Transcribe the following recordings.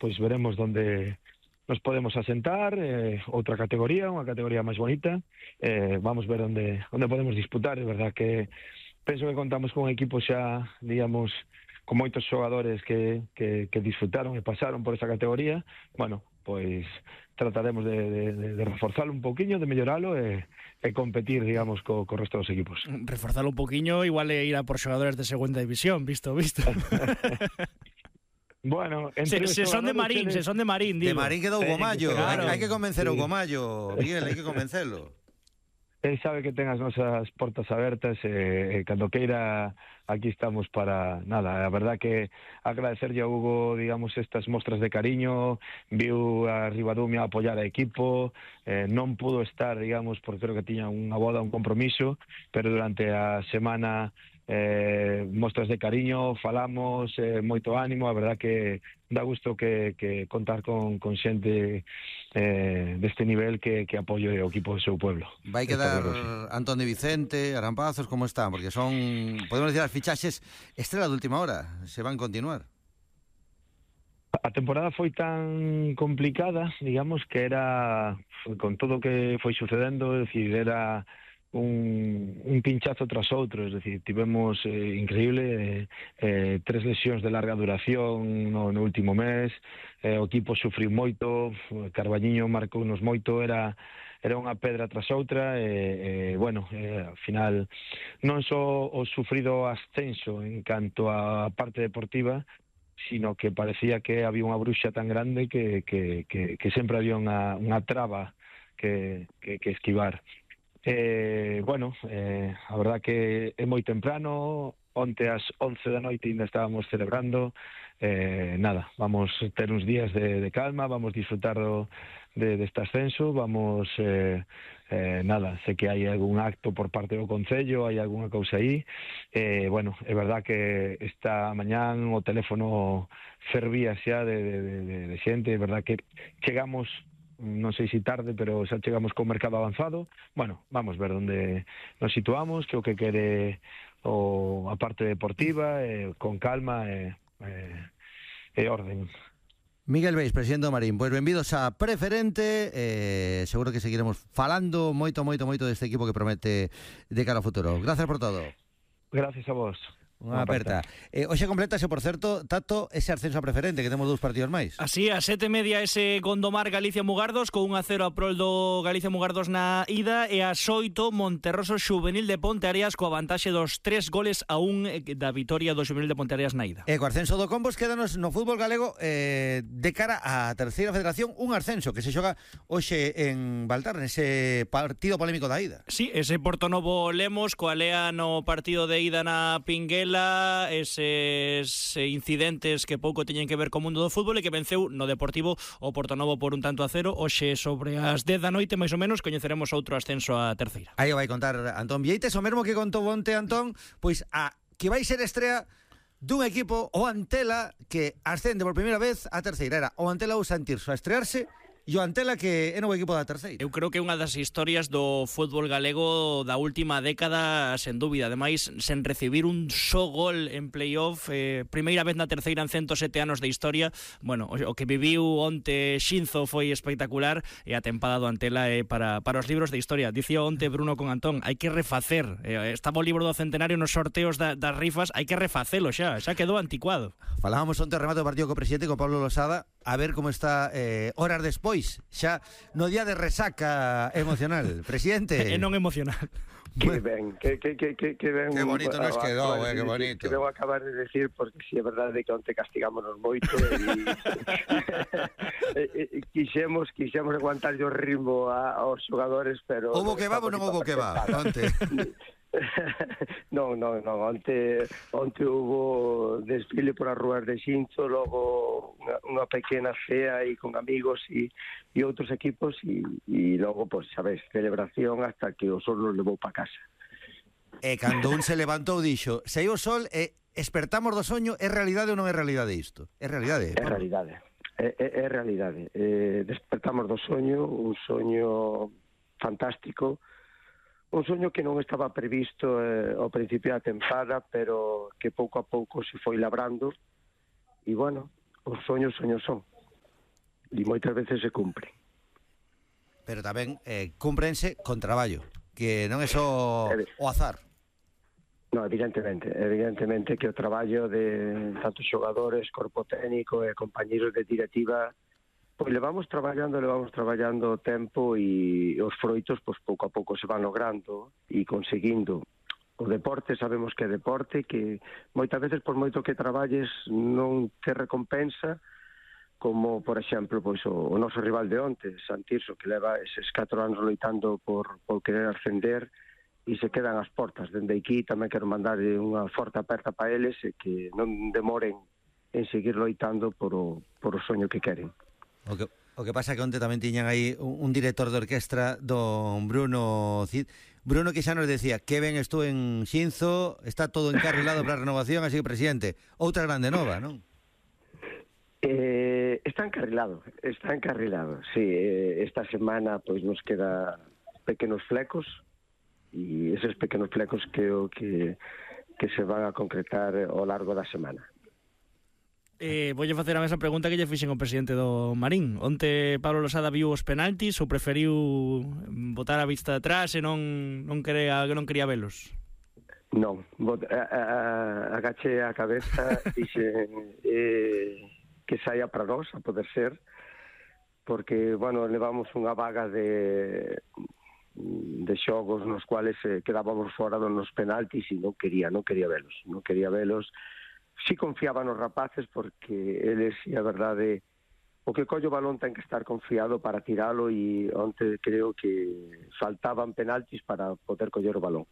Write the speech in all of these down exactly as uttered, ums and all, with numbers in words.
pois veremos onde nos podemos asentar, eh, outra categoría, unha categoría máis bonita, eh, vamos ver onde, onde podemos disputar. É verdad que penso que contamos con un equipo xa, digamos, con moitos xogadores que, que, que disfrutaron e pasaron por esa categoría. Bueno, pois trataremos de, de, de reforzalo un pouquiño, de melloralo e, e competir, digamos, co, co resto dos equipos. Reforzalo un pouquiño, igual é ir a por xogadores de segunda división, visto, visto. Bueno, entre se, se son de Marín, se son de Marín, digo. De Marín quedou o Gomallo, claro. hai que convencer sí. o Gomallo, Miguel, hai que convencelo. Él sabe que ten as nosas portas abertas e, e cando queira aquí estamos para nada. A verdad que agradecerlle a Hugo, digamos, estas mostras de cariño, viu a Ribadumia apoiar a equipo, eh, non pudo estar, digamos, porque creo que tiña unha boda, un compromiso, pero durante a semana eh, mostras de cariño, falamos, eh, moito ánimo, a verdad que dá gusto que, que contar con, con xente eh, deste nivel que, que apoio o equipo do seu pueblo. Vai quedar Antón de Vicente, Arampazos, como están? Porque son, podemos decir, as fichaxes estrela de última hora, se van continuar. A temporada foi tan complicada, digamos, que era, con todo o que foi sucedendo, é dicir, era un, un pinchazo tras outro, es decir, tivemos eh, increíble eh, eh, tres lesións de larga duración no, no último mes, eh, o equipo sufriu moito, Carballiño marcounos moito, era era unha pedra tras outra e, e bueno, eh, ao final non só o sufrido ascenso en canto á parte deportiva, sino que parecía que había unha bruxa tan grande que, que, que, que sempre había unha, unha traba que, que, que esquivar. Eh, bueno, eh, a verdad que é moi temprano, onte ás once da noite ainda estábamos celebrando, eh, nada, vamos ter uns días de, de calma, vamos disfrutar do, de, deste ascenso, vamos, eh, eh, nada, sei que hai algún acto por parte do Concello, hai algunha cousa aí, eh, bueno, é verdad que esta mañán o teléfono fervía xa de, de, de, de xente, é verdad que chegamos, non sei se tarde, pero xa chegamos con mercado avanzado. Bueno, vamos ver onde nos situamos, que o que quere o, a parte deportiva, eh, con calma e eh, eh, orden. Miguel Beis, presidente do Marín, pois benvidos a Preferente, eh, seguro que seguiremos falando moito, moito, moito deste equipo que promete de cara ao futuro. Gracias por todo. Gracias a vos. Unha aperta. Eh, hoxe complétase, por certo, Tato, ese ascenso a Preferente, que temos dous partidos máis. Así, a sete e media ese Gondomar Galicia-Mugardos, con un a cero a prol do Galicia-Mugardos na ida, e a oito Monterroso Xuvenil de Ponteareas, coa vantaxe dos tres goles a un da vitoria do Xuvenil de Ponteareas na ida. E co ascenso do Combos, quédanos no fútbol galego eh, de cara á terceira federación, un ascenso que se xoga hoxe en Baltar, nese partido polémico da ida. Sí, ese Portonovo Lemos, coa lea no partido de ida na Pinguela, eses incidentes que pouco teñen que ver co mundo do fútbol, e que venceu no Deportivo o Portonovo por un tanto a cero. Hoxe sobre as dez da noite, máis ou menos, coñeceremos outro ascenso a terceira. Aí o vai contar Antón Vieites, o mesmo que contou onte Antón, pois a que vai ser estrea dun equipo, o Antela, que ascende por primeira vez a terceira. Era o Antela ou Santirso a estrearse, e o Antela que é novo equipo da terceira. Eu creo que é unha das historias do fútbol galego da última década, sen dúbida. Ademais, sen recibir un só gol en playoff, eh, primeira vez na terceira en ciento sete anos de historia. Bueno, o, o que viviu onte Xinzo foi espectacular, e a tempada do Antela é para, para os libros de historia. Dicía onte Bruno con Antón, hai que refacer. Eh, estaba o libro do centenario nos sorteos da, das rifas, hai que refacelo xa, xa quedou anticuado. Falábamos onte o remate do partido co presidente, con Pablo Losada, a ver como está eh, horas despois, xa no día de resaca emocional. Presidente. E non emocional. Que ben, que, que, que, que, que ben. Que bonito nos quedou, eh, que bonito. Que debo acabar de decir, porque si é verdade que onte castigámonos moito e, e, e quixemos, quixemos aguantar o ritmo a, aos xogadores, pero... Houbo que va ou non houbo que va, onte? non, non, non, onte, onte hubo desfile por as rúas de Xinzo, logo unha, unha pequena cea e con amigos e, e outros equipos e, e logo, pois, sabes, celebración hasta que o sol nos levou para casa. E cando un se levantou dixo, saiu o sol e espertamos do soño, é realidade ou non é realidade isto? É realidade? É realidade, é, é, é realidade. Eh, despertamos do soño, un soño fantástico, un soño que non estaba previsto eh, ao principio da tempada, pero que pouco a pouco se foi labrando, e bueno, os soños, soños son. e moitas veces se cumpre. Pero tamén eh, cúmprense con traballo, que non é só o azar. No, evidentemente, evidentemente que o traballo de tantos xogadores, corpo técnico e compañeiros de directiva, pois levamos traballando, levamos traballando tempo e os froitos, pois pouco a pouco se van logrando e conseguindo. O deporte, sabemos que é deporte, que moitas veces, por moito que traballes, non te recompensa, como, por exemplo, pois o, o noso rival de onte, Santirso, que leva eses catro anos loitando por, por querer ascender, e se quedan as portas. Dende aquí tamén quero mandar unha forte aperta para eles e que non demoren en seguir loitando por o, por o soño que queren. O que, o que pasa que onte tamén tiñan aí un, un director de orquestra, don Bruno Cid. Bruno que xa nos decía que ben estou en Xinzo, está todo encarrilado para a renovación, así que, presidente, outra grande nova, non? Eh, está encarrilado, está encarrilado, sí. Eh, esta semana pois nos queda pequenos flecos, e eses pequenos flecos creo que, que se van a concretar ao largo da semana. Eh, voulle facer a mesma pregunta que lle fixen ao presidente do Marín. Onte Pablo Losada viu os penaltis ou preferiu botar a vista atrás e non non quería, non quería velos? Non, bot, a, a, agaché a cabeza e dixe eh, que saia para nós, a poder ser, porque, bueno, levamos unha vaga de de xogos nos cuales eh, quedábamos fora dos penaltis e non quería, non quería velos, non quería velos. Si confiaba nos rapaces porque eles, e a verdade, o que colle o balón ten que estar confiado para tiralo e onte creo que faltaban penaltis para poder coller o balón.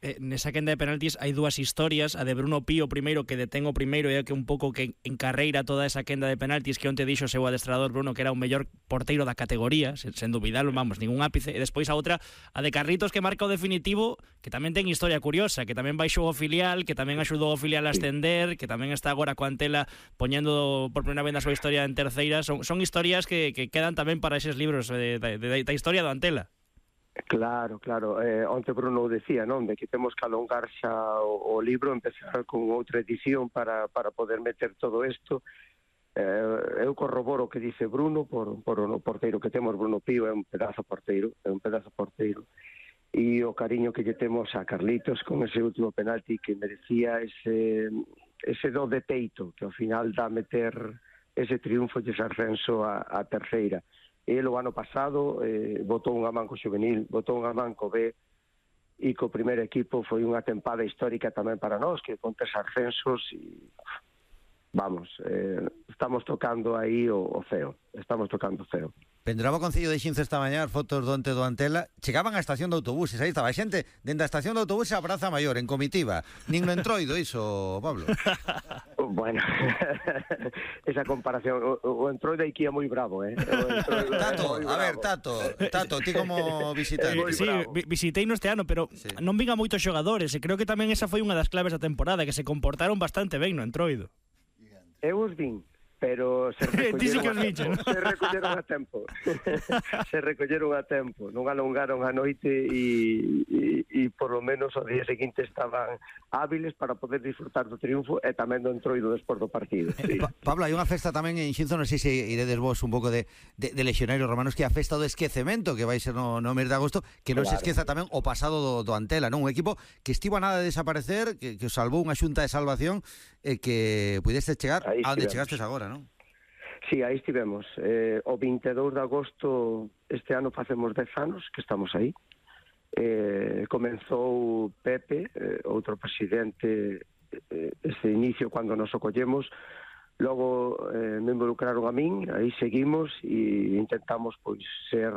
Eh, nesa quenda de penaltis hai dúas historias, a de Bruno Pío primeiro, que detén o primeiro e é que un pouco que encarreira toda esa quenda de penaltis, que onte dixo o seu adestrador Bruno que era o mellor porteiro da categoría, sen, sen dubidalo, vamos, ningún ápice. E despois a outra, a de Carlitos, que marca o definitivo, que tamén ten historia curiosa, que tamén baixou o filial, que tamén axudou o filial a ascender, que tamén está agora coa Antela poñendo por primeira vez na súa historia en terceira. Son, son historias que, que quedan tamén para eses libros de, de, de, da historia do Antela. Claro, claro. Eh, onte Bruno decía, non? De que temos que alongar xa o, o libro, empezar con outra edición para, para poder meter todo isto. Eh, eu corroboro o que dice Bruno por, por o porteiro que temos. Bruno Pío é un pedazo porteiro, é un pedazo porteiro. E o cariño que lle temos a Carlitos con ese último penalti que merecía ese, ese do de peito, que ao final dá meter ese triunfo e ese ascenso a, a terceira. El o ano pasado eh, botou unha man co juvenil, botou unha man co B e co primeiro equipo foi unha tempada histórica tamén para nós, que con tres ascensos e vamos, eh, estamos tocando aí o, o ceo, estamos tocando o ceo. Pendraba o Concello de Xinzo esta mañá fotos do onte do Antela, chegaban á estación de autobuses, aí estaba a xente dentro da estación de autobuses a Praza Maior, en comitiva. Nin no entroido iso, Pablo. Bueno, esa comparación, o, o entroido aquí é moi bravo, eh? Tato, a ver, Tato, Tato, ti como visitante. Eh, sí, visitei no este ano, pero sí, non vin a moitos xogadores, e creo que tamén esa foi unha das claves da temporada, que se comportaron bastante ben no entroido. Eu os vin, pero se recolleron, sí a, se recolleron a tempo. se recolleron a tempo, non alongaron a noite e, e, e por lo menos ao día seguinte estaban hábiles para poder disfrutar do triunfo e tamén do entroido despois do partido. Sí. Pa Pablo, hai unha festa tamén en Xinzo, non sei se iredes vos un pouco de, de, de lexionarios romanos, que é a festa do esquecemento, que vai ser no, no mes de agosto, que non claro. Se esqueza tamén o pasado do, do Antela, non? Un equipo que estivo a nada de desaparecer, que, que os salvou unha xunta de salvación e eh, que pudeste chegar a onde chegastes agora, non? Sí, aí estivemos. Eh, o vinte e dous de agosto este ano facemos dez anos que estamos aí. Eh, comenzou Pepe, eh, outro presidente, eh, este inicio cando nos ocollemos. Logo eh, me involucraron a min, aí seguimos e intentamos pois ser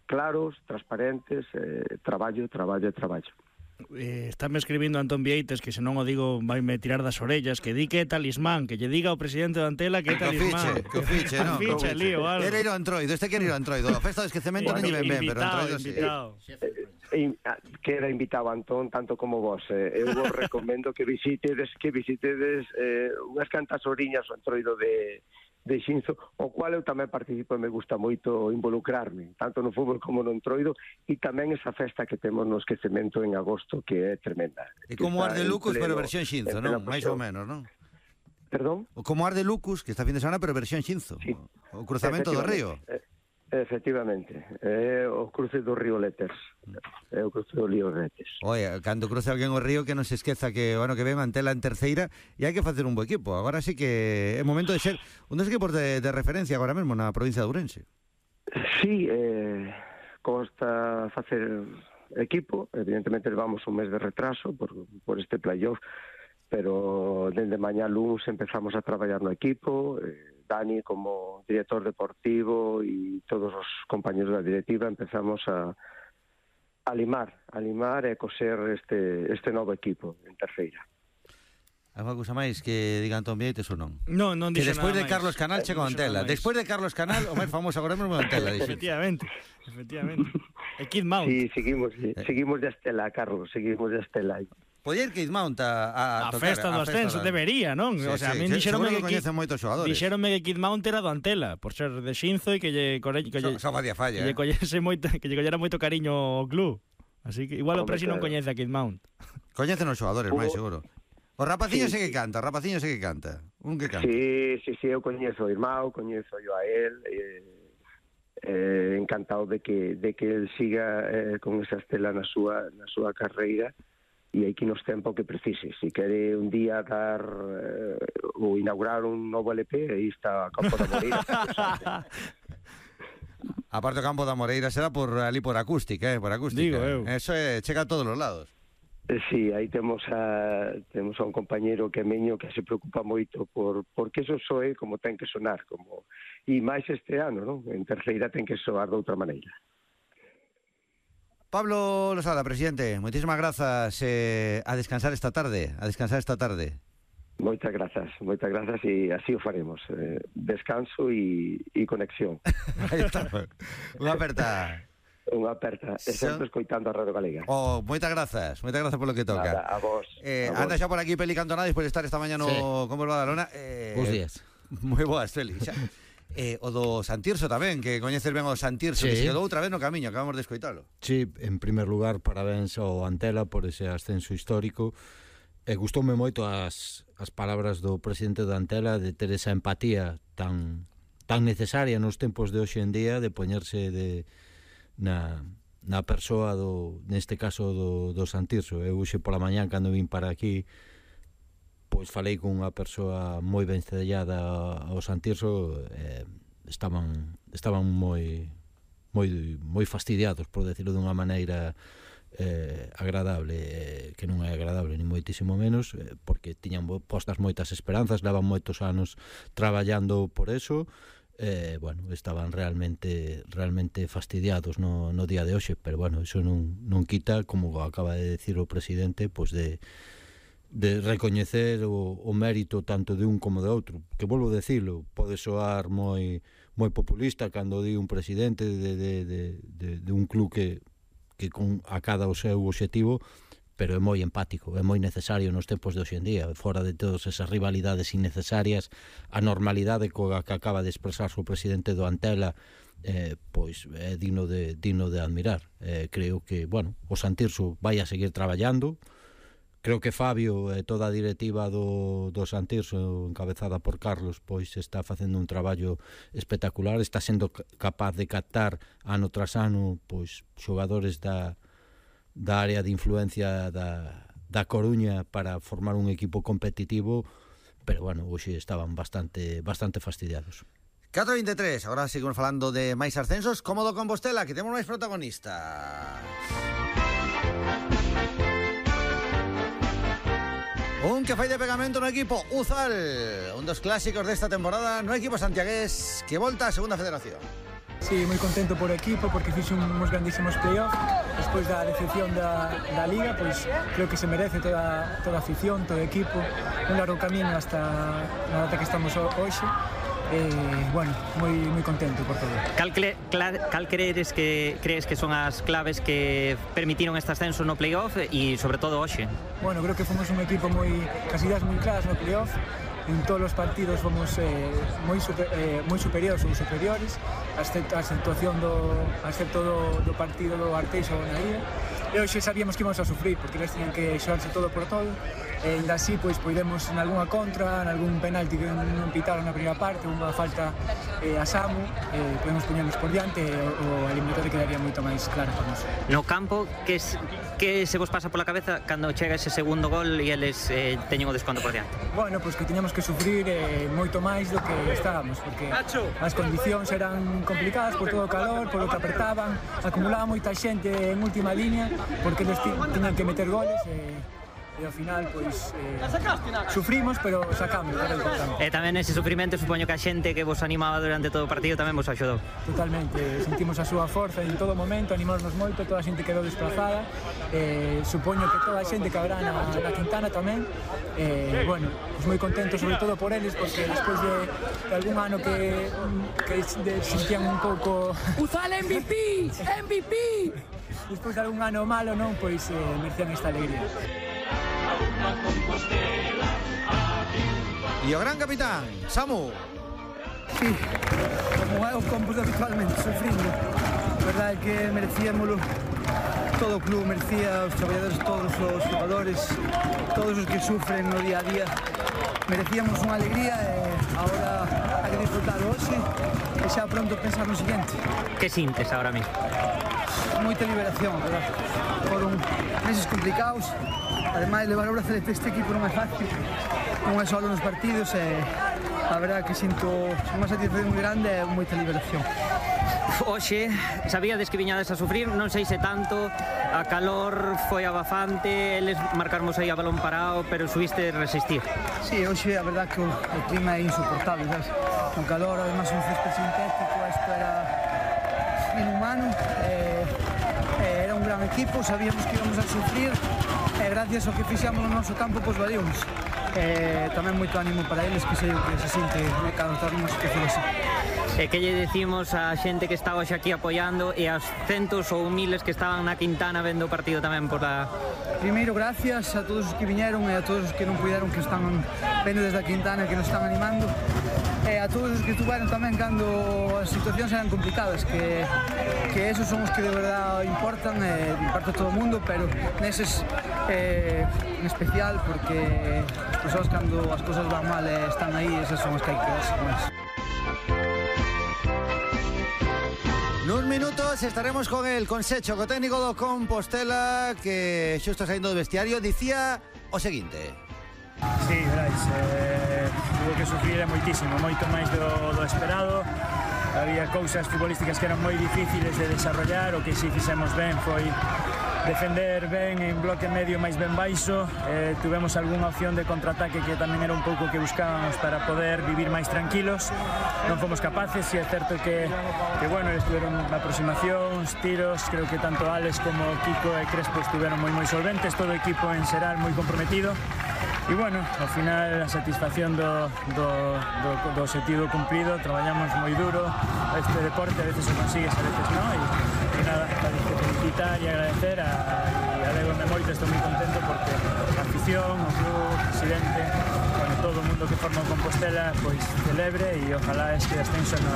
claros, transparentes, eh, traballo, traballo e traballo. Eh, estáme escribindo Antón Vieites que se non o digo vai me tirar das orellas, que di que é talismán, que lle diga ao presidente de Antela que é talismán. Que o fiche, que o fiche, non? Lío, algo. Era ir ao entroido, este quere ir ao entroido. A festa do esquecemento non lle ven ben, pero entroido sí. Eh, queda invitado Antón tanto como vos. Eh, eu vos recomendo que visitedes que visitedes eh, unhas cantas oriñas ao entroido de de Xinzo, o cual eu tamén participo e me gusta moito involucrarme, tanto no fútbol como no entroido, e tamén esa festa que temos no esquecemento en agosto, que é tremenda. E como Ar de Lucos, pero versión Xinzo, non? Mais ou menos, non? Perdón? Como Ar de Lucus, que está fin de semana, pero versión Xinzo. Sí. O cruzamento do río. Efectivamente, é o cruce do río Letes. É o cruce do río Letes. Oye, cando cruce alguén o río, que non se esqueza que, bueno, que ven Antela en terceira e hai que facer un bo equipo. Agora sí que é momento de ser un dos equipos de, de referencia agora mesmo na provincia de Ourense. Sí, eh, consta facer equipo. Evidentemente levamos un mes de retraso por, por este playoff, pero dende mañá luns empezamos a traballar no equipo. eh, Dani como director deportivo e todos os compañeros da directiva empezamos a, a limar, a limar e coser este, este novo equipo en terceira. Algo cousa máis que diga Antón Vieites ou non? Non, non Que dixo despois nada de Carlos máis. Canal che con Non dixo Antela. nada máis. Despois de Carlos Canal, o máis famoso agora mesmo é Antela. dixo. Efectivamente, efectivamente. E Kid Mount. Sí, seguimos, seguimos de Estela, Carlos, seguimos de Estela. Podía ir Kid Mount a, a, A tocar, festa do ascenso, da- debería, non? Sí, O sea, a sí, min sí, dixeronme seguro que que coñecen moitos xogadores. Dixeronme que Kid Mount era do Antela, por ser de Xinzo e que lle corre, que lle, Só facía falla, que lle eh. collese moito, que lle collera moito cariño ao club. Así que igual o Hombre, Presi non claro. coñece a Kid Mount. Coñecen os xogadores, máis Hubo- seguro. O rapaciño Sí. sí que canta, o rapaciño sí que canta. Un que canta. Sí, sí, sí, eu coñezo o irmão, coñezo yo a él, eh, eh, encantado de que de que él siga eh, con esa estela na súa na súa carreira e hai que nos tempo que precise. Si quere un día dar eh, ou inaugurar un novo L P, aí está a Campo da Moreira. Aparte o Campo da Moreira será por ali por acústica, eh, por acústica. Digo eu. Eso é, chega a todos os lados. Eh, Sí, aí temos a temos a un compañeiro que é meño que se preocupa moito por porque eso soe como ten que sonar, como e máis este ano, non? En terceira ten que soar de outra maneira. Pablo Losada, presidente, moitísimas grazas eh, a descansar esta tarde, a descansar esta tarde. Moitas grazas, moitas grazas e así o faremos. Eh, descanso e, e conexión. Aí está. Unha aperta. Unha aperta, e Son- sempre escoitando a Radio Galega. Oh, moitas grazas, moitas grazas polo que toca. Nada, a vos. Eh, a vos. anda xa por aquí Peli Cantonada despois de estar esta mañá no Sí. Como va da Lona. Eh, Bos días. Moi boas, Feli. Xa. Eh, o do Santirso tamén, que coñeces ben o Santirso, Sí. que se quedou outra vez no camiño, acabamos de escoitalo. Sí, en primer lugar, parabéns ao Antela por ese ascenso histórico. E gustoume moito as, as palabras do presidente da Antela de ter esa empatía tan tan necesaria nos tempos de hoxe en día, de poñerse de na, na persoa do, neste caso do, do Santirso. Eu hoxe pola mañán, cando vim para aquí, pois falei con unha persoa moi ben cedellada ao Santirso, eh, estaban estaban moi moi moi fastidiados, por decirlo dunha maneira eh, agradable, eh, que non é agradable ni moitísimo menos, eh, porque tiñan postas moitas esperanzas, levan moitos anos traballando por eso. Eh, bueno, estaban realmente realmente fastidiados no, no día de hoxe, pero bueno, eso non, non quita, como acaba de decir o presidente, pois de de recoñecer o, o mérito tanto de un como de outro, que volvo a decirlo, pode soar moi moi populista cando di un presidente de, de, de, de, de un club que, que con a cada o seu obxectivo, pero é moi empático, é moi necesario nos tempos de hoxe en día, fora de todas esas rivalidades innecesarias, a normalidade coa que acaba de expresarse o presidente do Antela, eh, pois é digno de, digno de admirar. Eh, creo que, bueno, o Santirso vai a seguir traballando. Creo que Fabio e toda a directiva do, do Santirso, encabezada por Carlos, pois está facendo un traballo espectacular, está sendo capaz de captar ano tras ano pois xogadores da, da área de influencia da, da Coruña para formar un equipo competitivo, pero bueno, hoxe estaban bastante bastante fastidiados. catro vinte e tres, agora seguimos falando de máis ascensos, como do Compostela, que temos máis protagonistas. Un que fai de pegamento no equipo Uzal, un dos clásicos desta temporada no equipo santiagués que volta a segunda federación. Sí, moi contento por equipo porque fixe uns grandísimos playoffs. Despois da decepción da, da Liga, pois creo que se merece toda, toda a afición, todo o equipo. Un largo camiño hasta a data que estamos hoxe. Eh, bueno, moi moi contento por todo. Cal, cre, cla, cal crees que crees que son as claves que permitiron este ascenso no playoff e sobre todo hoxe? Bueno, creo que fomos un equipo moi casi das moi claras no playoff. En todos os partidos fomos eh, moi super, eh, moi superiores ou superiores, excepto a situación do excepto do, do partido do Arteixo na ida. e hoxe sabíamos que íbamos a sufrir porque eles tiñan que xogarse todo por todo e ainda así pois podemos en algunha contra, en algún penalti que non pitaron na primeira parte, unha falta eh, a Samu, eh, podemos poñernos por diante e o, o eliminatorio quedaría moito máis claro para nós. No campo, que, es, que se vos pasa pola cabeza cando chega ese segundo gol e eles eh, teñen o desconto por diante? Bueno, pois que tiñamos que sufrir eh, moito máis do que estábamos porque as condicións eran complicadas por todo o calor, por o que apretaban, acumulaba moita xente en última línea porque eles tiñan que meter goles e, e ao final pois eh, sufrimos pero sacamos, era importante. E tamén ese sufrimento supoño que a xente que vos animaba durante todo o partido tamén vos axudou. Totalmente, sentimos a súa forza en todo momento, animámonos moito, toda a xente quedou desplazada, eh, supoño que toda a xente que habrá na, na Quintana tamén, eh, bueno, pues moi contento sobre todo por eles porque despois de, de algún ano que, que de, sentían un pouco... Uzal M V P! M V P! Despois de algún ano malo, non, pois eh, merecían esta alegría. E o gran capitán, Samu. Sí, como é o compos habitualmente, sufrindo. A verdade é que merecíamolo, todo o club merecía, os traballadores, todos os jugadores, todos os que sufren no día a día. Merecíamos unha alegría e agora hai que disfrutar hoxe e xa pronto pensar no siguiente. Que sintes agora mismo? Moita liberación, verdad? Foron meses complicados. Ademais, levar o brazalete este equipo non é fácil, non é só nos partidos e a verdade que sinto unha satisfacción moi grande e moita liberación. Hoxe, sabíades que viñades a sufrir, non sei se tanto, a calor foi abafante, eles marcarmos aí a balón parado, pero subiste resistir. Sí, hoxe a verdade que o, o clima é insoportable, sabes? Con calor, además un césped sintético, isto era inhumano, eh, eh, era un gran equipo, sabíamos que íbamos a sufrir, e gracias ao que fixamos no noso campo, pois valíamos. Eh, tamén moito ánimo para eles, que sei o que se sinte cando estás nunha situación así. E que lle decimos a xente que está hoxe aquí apoiando e aos centos ou miles que estaban na Quintana vendo o partido tamén por a... Primeiro, gracias a todos os que viñeron e a todos os que non puderon, que están vendo desde a Quintana, que nos están animando. E a todos os que estuveron tamén cando as situacións eran complicadas, que, que esos son os que de verdade importan, e importa a todo o mundo, pero neses eh, en especial, porque as persoas cando as cosas van mal e están aí, esas son as que hai que quedarse con elas. Nuns minutos estaremos con el Concecho, co técnico do Compostela, que xusto saindo do vestiario dicía o seguinte. Sí, veráis, eh, tuvo que sufrir moitísimo, moito máis do, do esperado. Había cousas futbolísticas que eran moi difíciles de desarrollar, o que si fixemos ben foi defender ben en bloque medio máis ben baixo. Eh, tuvemos algunha opción de contraataque que tamén era un pouco que buscábamos para poder vivir máis tranquilos. Non fomos capaces, e é certo que, que bueno, estuvieron aproximacións, tiros, creo que tanto Alex como Kiko e Crespo estuvieron moi moi solventes, todo o equipo en xeral moi comprometido. E bueno, ao final a satisfacción do, do, do, do objetivo cumprido, traballamos moi duro, este deporte a veces o consigues, a veces non, e, e nada, para felicitar e agradecer a, e alegro-me moito, estou moi contento porque a afición, o club, o presidente, bueno, todo o mundo que forma o Compostela, pois celebre e ojalá este ascenso no,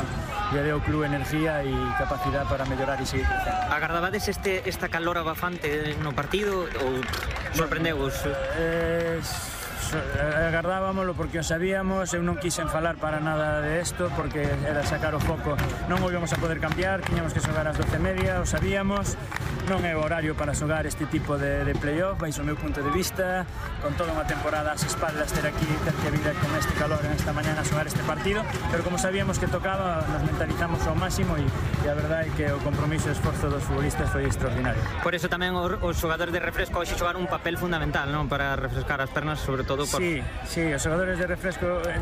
lle dé ao club energía e capacidade para mellorar e seguir crecendo. Agardabades este, esta calor abafante no partido ou sorprendeu-vos? Eh, agardábamoslo porque o sabíamos, eu non quixen falar para nada de isto porque era sacar o foco, non o íbamos a poder cambiar, tiñamos que xogar ás doce e media, o sabíamos, non é o horario para xogar este tipo de, de play-off, vais o meu punto de vista, con toda unha temporada ás espaldas ter aquí, ter que vir con este calor en esta mañana a xogar este partido, pero como sabíamos que tocaba, nos mentalizamos ao máximo e, e a verdade é que o compromiso e o esforzo dos futbolistas foi extraordinario. Por eso tamén os xogadores de refresco hoxe xogaron un papel fundamental, non? Para refrescar as pernas, sobre todo por... Sí, sí, os xogadores de refresco eh,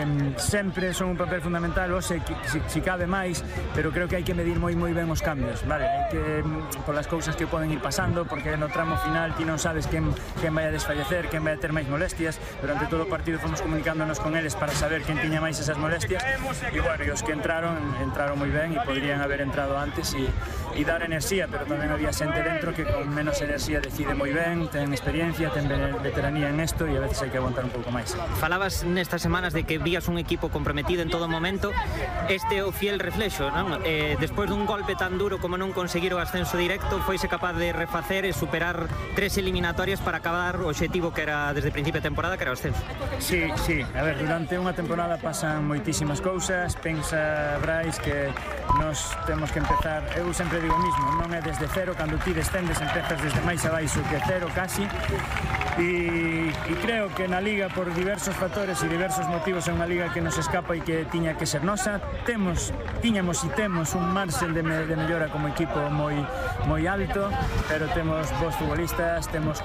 eh, sempre son un papel fundamental, hoxe si, si cabe máis, pero creo que hai que medir moi moi ben os cambios, vale? Hai que, polas cousas que poden ir pasando, porque no tramo final ti non sabes quen, quen vai a desfallecer, quen vai a ter máis molestias. Durante todo o partido fomos comunicándonos con eles para saber quen tiña máis esas molestias, e bueno, e os que entraron, entraron moi ben e podrían haber entrado antes e, e dar enerxía, pero tamén había xente dentro que con menos enerxía decide moi ben, ten experiencia, ten veteranía en isto e a veces veces hai que aguantar un pouco máis. Falabas nestas semanas de que vías un equipo comprometido en todo momento. Este é o fiel reflexo, non? Eh, despois dun golpe tan duro como non conseguir o ascenso directo, foise capaz de refacer e superar tres eliminatorias para acabar o obxectivo que era desde o principio de temporada, que era o ascenso. Sí, sí, a ver, durante unha temporada pasan moitísimas cousas. Pensa, Brais, que nos temos que empezar, eu sempre digo o mismo, non é desde cero, cando ti descendes empezas desde máis abaixo que cero casi, e, e creo que na Liga, por diversos factores e diversos motivos, é unha Liga que nos escapa e que tiña que ser nosa. Temos, tiñamos e temos un marxen de, me, de mellora como equipo moi moi alto, pero temos bons futbolistas, temos